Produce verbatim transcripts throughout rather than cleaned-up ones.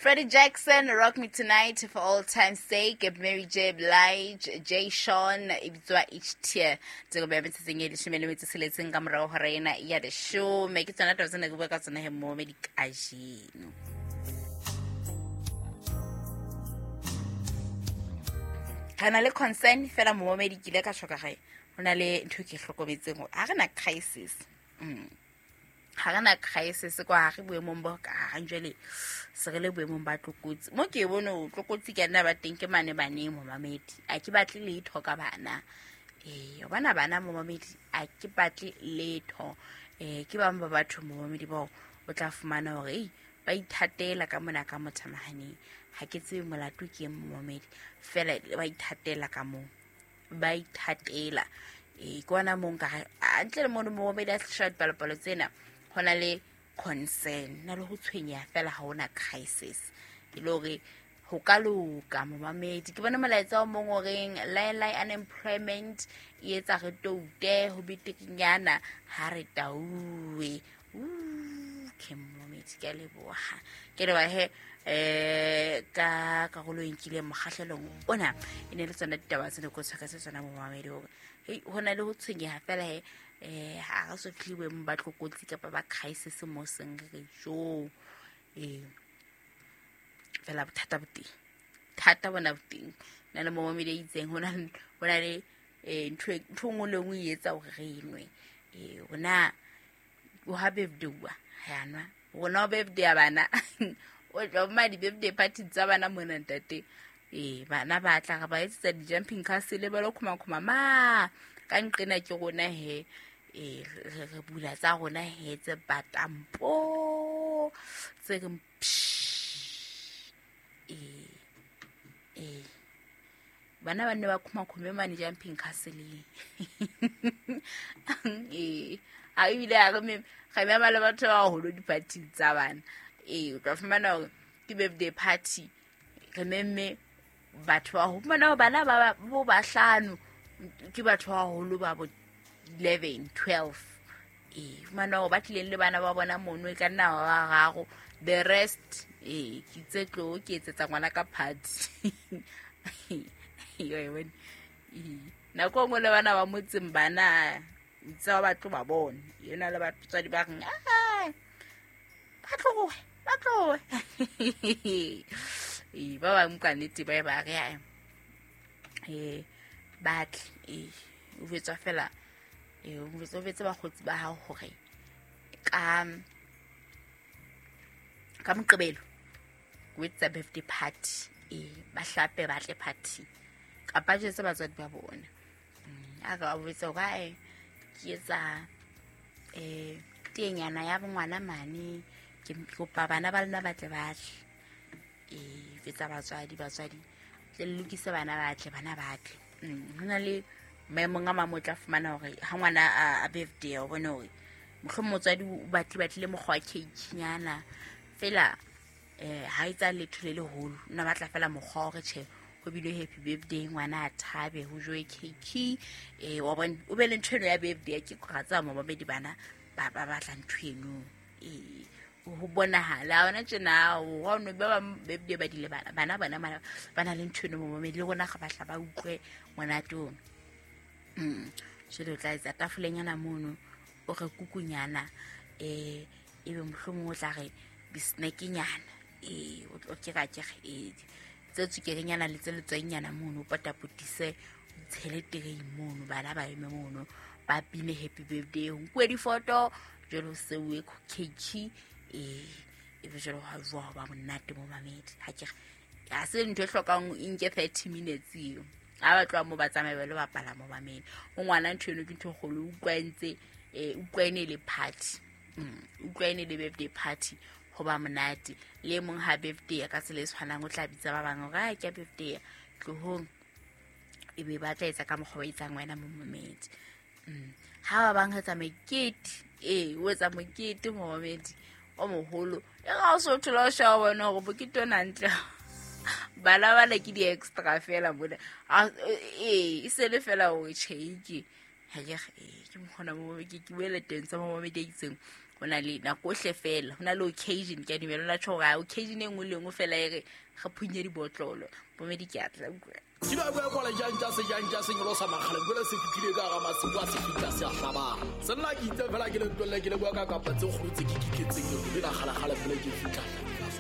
Freddie Jackson, Rock Me Tonight, For All Time's Sake, Mary J. Blige, Jay Sean, e bitswa Each Tear. Tse go beya metsatsing e leshome le metso tsheletseng ka morao hora ena ya leshome. Ke tsona taba tsena ke bua ka tsona he mo me dikajeno. Re na le concern fela momamedi ke ile ka tjho ka gae. Ho na le ntho e ke hlokometseng hore ha re na crisis. Mm. Ha re na crisis kwa ha re boemong bo ka ha jwale se re le boemong ba tlokotsi. Mo ke bone ho tlokotsi ke nna ba teng ke mane baneng momamedi. A ke batle letho ka bana. Eh, o bana bana momamedi a ke batle letho. Eh, ke bang ba batho momamedi bao o tla fumana hore ei ba ithatela ka mona ka mothamahaneng. Ha ke tsebe molato ke eng momamedi. Fela ba ithatela ka moo. Ba ithatela. Eh, ke ona moo nka re, a ntle le mono momamedi a tlisha dipalopalo tsena, ho na le concern, na le ho tshwenyeha fela ha hona crisis. E le hore ho ka loka momamedi. Ke bona molaetsa o mong o reng lie lie unemployment e etsa re toute ho betekenyana ha re tauwe. Uh, ke momamedi, ke a leboha. Ke leboha he, eh, ka karolo e nkileng mokgahlelong ona. E ne le tsona ditaba tse ne ke o tshwaretse tsona momamedi hore, hei, ho na le ho tshwenyeha fela he, eh, ha re so fihle boemong ba tlokotsi kapa ba crisis mo seng re re jo. Eh, fela bothata bo teng. Thata bona bo teng. Na le momamedi a itseng, ho na le, ho na le, eh, ntho e, ntho e nngwe le nngwe e etsa hore re nwe. Eh, rona, o ha birthday wa, ha nwa. Rona o birthday ya bana. O tla ba di-birthday party tsa bana mona ntate. Eh, bana ba tla re ba etsetsa di-jumping castle ba lo khuma-khuma ma. Ka nqena ke rona he, eh, re, re bula tsa rona he tse batang po, tse reng psh. Eh, eh. Bana ba nne ba khuma-khume mane jumping castle-eng. Eh, ha ebile ha re me-, re mema le batho ba baholo di-party tsa bana. Eh, o tla fumana hore ke birthday party, re memme batho ba ho fumana hore bana ba ba, bo bahlano ke batho ba baholo ba bo eleven, twelve. Eh, fumana hore ba tlileng le bana ba bona mono e ka nna ba bararo. The rest, eh, ke itse tlo ke etsetsa ngwana ka party. Yo, e bone. Eh, nako e nngwe le bana ba motseng bana, o itse ba tlo ba bona. Yena le batswadi ba reng, ah, ba tlohe, ba tlohe. Eh, ba bang ka nnete ba e ba re, ah, eh, ba tle, eh, o jwetswa fela, eh, o jwetse, o jwetse bakgotsi ba hao hore ka, ka Moqebelo o etsa birthday party, eh, ba hlape ba tle party kapa jwetse batswadi ba bona. Mm, a ka ba botsa hore, ae, ke etsa, eh, tenyana ya ngwana mane, ke kopa bana ba lona ba tle ba tle. Eh, jwetsa batswadi, batswadi tle le lokise bana ba tle, bana ba tle. Mm, ho na le maemong a mang o tla fumana hore ha ngwana a, a birthday, o bone hore mohlomong motswadi o batle, batlile mokgwa wa cake nyana fela, eh, ha etsa letho le leholo, o na batla fela mokgwa wa hore tjhe, ho bile happy birthday, ngwana a thabe, ho jowe cake, eh, wa bona, o be le ntho eno ya birthday. Ke ra tseba momamedi bana ba, ba batla ntho eno. Eh, ho bonahala ha hona tjena, o ha o no ba bang birthday ba di lebala, bana bona ba, ba na le ntho eno momamedi, le rona re batla ba utlwe monate ono. Mm. Jwale o tla etsa tafolenyana mono, o re kukunyana, eh, ebe mohlomong o tla re di-snack-nyana, eh, o tlo ke ra ke re, eh, tse tswekerenyana le tse letswainyana mono, o potapotise, o tshele terei mono, bana ba eme mono, ba bine happy birthday, ho nkuwe difoto, jwale ho seuwe cake, eh, ebe jwale ho a jowa ho ba monate momamedi. Ha ke re, ha se ntho e hlokang e nke thirty minutes eo. Ha ba tloha moo ba tsamaye ba lo bapala momamedi. Ho ngwana ntho eno ke ntho e kgolo, o utlwa e ntse, eh, utlwa e ne le party. Mm, utlwa e ne le birthday party, ho ba monate. Le e mong ha birthday ya ka tsela e tshwanang, o tla bitsa ba bang hore, ah, ke ya birthday ya, tlohong. Ebe ba tla etsa ka mokgwa o etsang wena momamedi. Mm. Ha ba bang etsa mekete, eh, o etsa mokete momamedi o moholo. E ga o so thola o sheba bona hore mokete ona ntle. Bana bana ke di-extra fela mona. A, eh, e se le fela hore tjhe, ke, ha ke re, eh, ke mokgona mo, ke, ke buele teng tsa momamedi a itseng. Ho na le nako ohle fela, ho na le occasion, ke a dumela la tjho hore occasion e nngwe le nngwe fela e re re phunye dibotlolo. Momedi ke a tla utlwa. Ke ba bua kwala jang tsa se jang tsa se nyolosa makgale jwale se fihlile ka hara masiu a se fihla se a hlabang. Se nna ke itse fela ke le ntwelle ke le bua ka kapa tse kgolo tse ke kiketseng ke le kgale kgale pele ke fihla.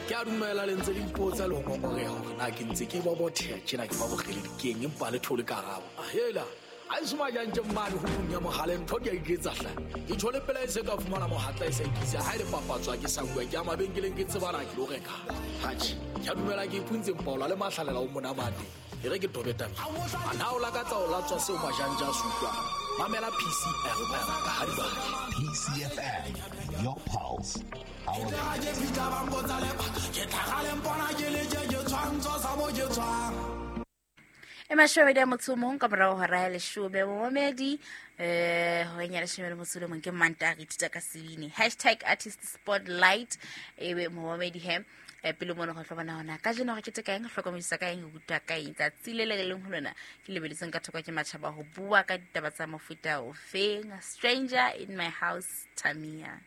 Ke a dumela le ntse le ipotsa le ho ngongoreha hore na ke ntse ke bobotheha tjena ke ba bokgele dikeng empa le thole karabo. Hela a e soma jang tje mmane ho punya mohale ntho di a iketsa hle. Ke tjhole pela e se ka fumana mohatla e sa ikisa ha ile papatswa ke sa bua ke a mabenkeleng ke tsebana ke lo reka. Hatjhe, ke a dumela ke ipuntse mpaola le mahlalela o monamate. E re ke tobe taba. A na o lakatsa o latswa seo majanja a se utlwang. Mamela P C F M ka ha di batla. P C F M, your pulse, our Ke fihla ba mpotsa lebaka, ke tlhaga le mpona ke le je ke tshwantsho sa mo ke tswang. E mashome a motso o mong ka morao hora ya leshome momedi, eh, horeng ya leshome le motso o le mong ke Mantaha re ithuta ka sebini. Hashtag artist spotlight, ebe momedi he. Eh, pele mona go tlo bona hona kajeno re keteka eng, re hlokomedisa ka eng, re rutwa ka eng. Tsatsi le le leng ho lona ke lebeletseng ka thoko ke matjhaba ho bua ka ditaba tsa mofuta ofeng. Stranger in my house, Tamia.